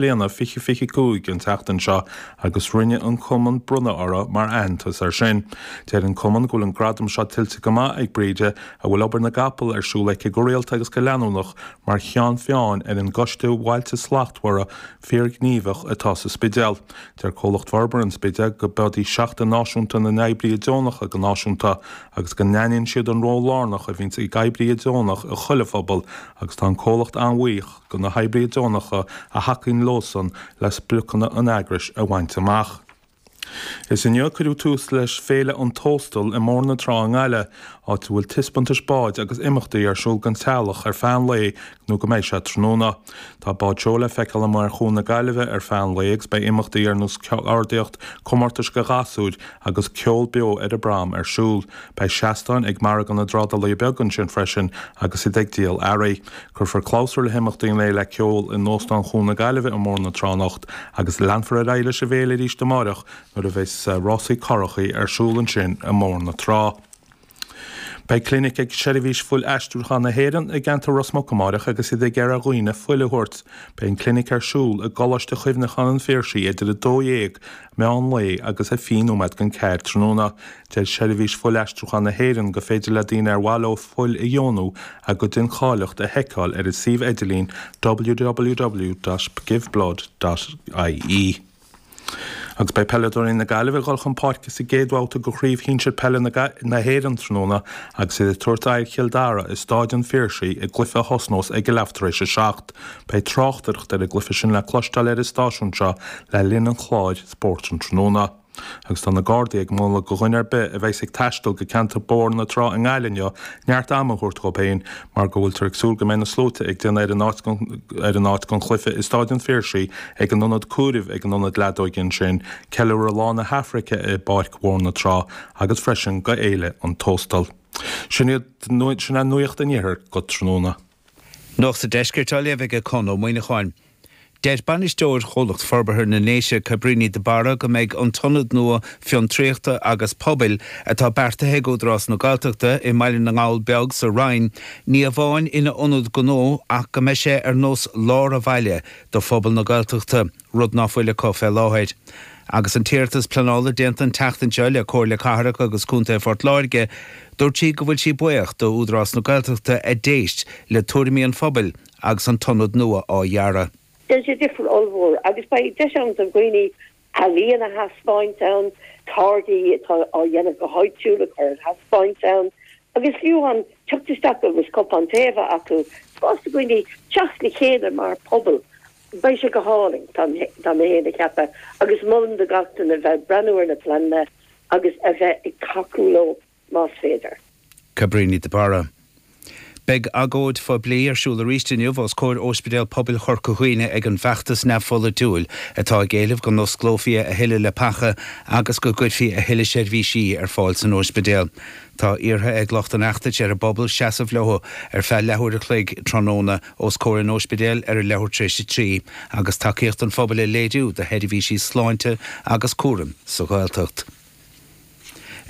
Bliana 2025 an tseachtain seo agus rinne an Cumann bronnadh orthu mar aitheantas air sin. Deir an Cumann go bhfuil an gradam seo tuillte go maith ag Bríde, a bhfuil obair na gcapall ar siúl aici go rialta agus go leanúnach mar cheann feadhain ar an gCoiste Bhailte Slachtmhara fíorghníomhach atá sa Spidéal. Deir Comhlacht Forbartha an Spidéil go b'iod í Seachtain Náisiúnta na nOibrithe Deonacha go náisiúnta agus go n-aithníonn siad an ról lárnach a bhíonns ag oibrithe deonach i chuile phobal agus tá an comhlacht an-bhuíoch do na hoibrithe deonacha a thacaíonn leosan le spriocanna an eagrais a bhaint amach. Is inniu a cuireadh tús leis Féile an Tóstail i mBóthar na Trá i nGaillimh, áit a bhfuil taispeántais báid agus imeachtaí ar siúl don teaghlach ar feadh an lae nó go mbeidh sé tráthnóna. Tá báid seoil le feiceáil amuigh ar Chuan na Gaillimhe ar feadh an lae agus beidh imeachtaí ar nós ceardaíocht, comórtais do ghasúir agus ceol beo ar an bprom ar siúl. Beidh seastáin ag Margadh na dTrádálaithe Beaga ansin freisin agus iad ag díol earraí. Cuirfear clabhsúr le himeachtaí an lae le ceol in Óstán Chuan na Gaillimhe i mBóthar na Trá anocht agus leanfar ar aghaidh leis an bhféile arís amáireach nuair a bheas rásaí currachaí ar siúl ansin i mBóthar na Trá. Beidh clinic ag Seirbhís Fuil-Aistriúcháin na hÉireann i gceantar Ros Muc amáireach agus iad ag iarraidh ar dhaoine fuil a thabhairt. Beidh an clinic ar siúl i gColáiste Chuimhneacháin an Phiarsaigh idir 12 meán lae agus 20 nóiméad don 4 tráthnóna. Deir Seirbhís Fuil-Aistriúcháin na hÉireann gur féidir le daoine ar mhaith leo fuil a dheonú a gcuid incháilitheacht a sheiceáil ar a suíomh idirlín www.giveblood.ie. Agus beidh peileadóirí na Gaillimhe ag dul chun páirce sa gcéad bhabhta de Chraobh Shinsir Peile na hÉireann tráthnóna agus iad ag tabhairt aghaidh ar Chill Dara i Stáid an Phiarsaigh i gcluiche a thosnós ag a leath tar éis a 7. Beidh tráchtaireacht ar an gcluiche sin le cloisteáil ar an stáisiún seo le linn an chláir Spórt an Tráthnóna. Agus tá na Gardaí ag moladh do dhuine ar bith a bheas ag taisteal go ceantar Bóthar na Trá i nGaillimh inniu neart ama a thabhairt dhóibh féin mar go bhfuiltear ag súil go mbeidh na sluaite ag déanamh ar an áit ar an áit don chluiche i Stáid an Phiarsaigh ag an ionad comhairimh ag an ionad leadóige ansin, ceiliúradh Lá na hAfraice i bPáirc Bhóthar na Trá agus freisin go Fhéile an Tóstail. Sin iad sin é Nuacht an Iarthair go tráthnóna. Nuacht an Deiscirt á léamh ag Conn Ó Muíneacháin. Deir bainisteoir Chomhlacht Forbartha na nDéise, Cabríní de Barra, go mbeidh an t-ionad nua fiontraíochta agus pobail atá beartaithe ag Údarás na Gaeltachta i mBaile na nGall Beag sa Rinn ní amháin ina ionad gnó ach go mbeidh sé ar nós lár an bhaile do phobal na Gaeltachta, rud ná fuil acu fé láthair. Agus an t-iarratas pleanála déanta an tseachtain seo le Comhairle Cathrach agus Contae Phort Láirge, dúirt sí go bhfuil sí buíoch d'Údarás na Gaeltachta a d'éist le tuairimí an phobail agus an t-ionad nua á dhearadh. Déanfaidh sé difear ollmhór agus beidh deis ann do dhaoine ealaíon a thaispeáint ann, táirgí atá á dhéanamh go háitiúil a chur ar thaispeáint ann agus fiú amháin teacht isteach agus cupán tae a bheith acu, spás do dhaoine teacht le chéile mar phobal. Beidh sé go hálainn, tá mé féin ag ceapadh, agus molaim do gach duine bheith ag breathnú ar na pleananna agus a bheith ag tacú leo más féidir. Cabríní de Barra. Beidh agóid phoiblí ar siúl arís inniu os comhair Ospidéal Pobail Chorca Dhuibhne ag an bhfeachtas neamhpholaitiúil atá ag éileamh go n-osclófaí a thuilleadh leapacha agus go gcuirfí a thuilleadh seirbhísí ar fáil san ospidéal. Tá iarrtha ag lucht an fheachtais ar an bpobal seasamh leo ar feadh leathuair a chloig tráthnóna os comhair an ospidéil ar a leathuair tar éis a 3 agus tacaíocht an phobail a léiriú do sheirbhísí sláinte agus cúraim sa Ghaeltacht.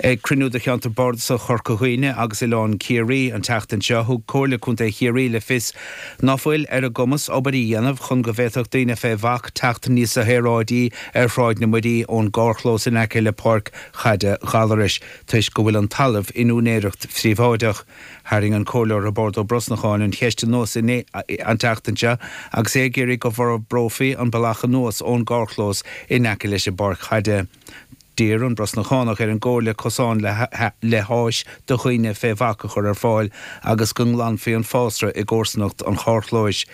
Ag cruinniú de Cheantar Bardasach Chorca Dhuibhne agus Oileán Ciarraí an tseachtain seo, thug Comhairle Contae Chiarraí le fios ná fuil ar a gcumas obair a dhéanamh chun go bhféadfadh daoine fé bhac teacht níosa shaoráidí ar Shráid na Muirí ón gcarrchlós in aice le Páirc Chaide Ghallarais toisc go bhfuil an talamh in úinéireacht phríobháideach. Tharraing an Comhairleoir Roibeárd Ó Brosnacháin an cheist anuas an tseachtain seo agus é ag iarraidh go bhforbrófaí an bealach anuas ón gcarrchlós in aice leis an bpáirc chaide. D'iarr an Brosnachánach ar an gComhairle cosán le háis do dhaoine fé bhac a chur ar fáil agus go nglanfaí an fásra i gcomharsanacht an charrchlóis.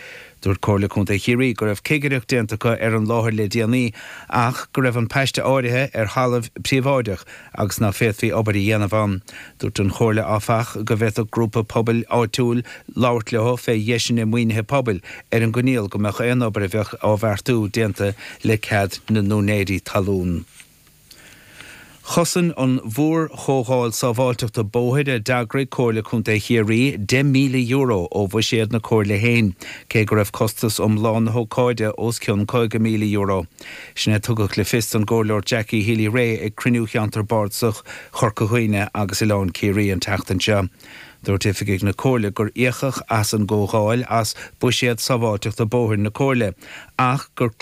Dúirt Comhairle Contae Chiarraí go raibh cigireacht déanta acu ar an láthair le déanaí ach go raibh an paiste áirithe ar thalamh príobháideach agus ná féadfaí obair a dhéanamh ann. Dúirt an Chomhairle, áfach, go bhféadfadh grúpa pobail áitiúil labhairt leo fé dheiseanna maoinithe pobail ar an gcoinníoll go mbeadh aon obair a bheadh á bheartú déanta le cead na n-úinéirí talún. Chosain an mhórchomhdháil sábháilteachta bóthair a d'eagraigh Comhairle Contae Chiarraí €10,000 ó bhuiséad na Comhairle féin, cé go raibh costas iomlán na hócáide os cionn €50,000. Sin é a tugadh le fios don gComhairleoir Jackie Healy-Rae ag cruinniú Cheantar Bardasach Chorca Dhuibhne agus Oileán Ciarraí an tseachtain seo. Dúirt oifigigh na Comhairle gur íocadh as an gcomhdháil as buiséad sábháilteachta bóthair na Comhairle, ach gur.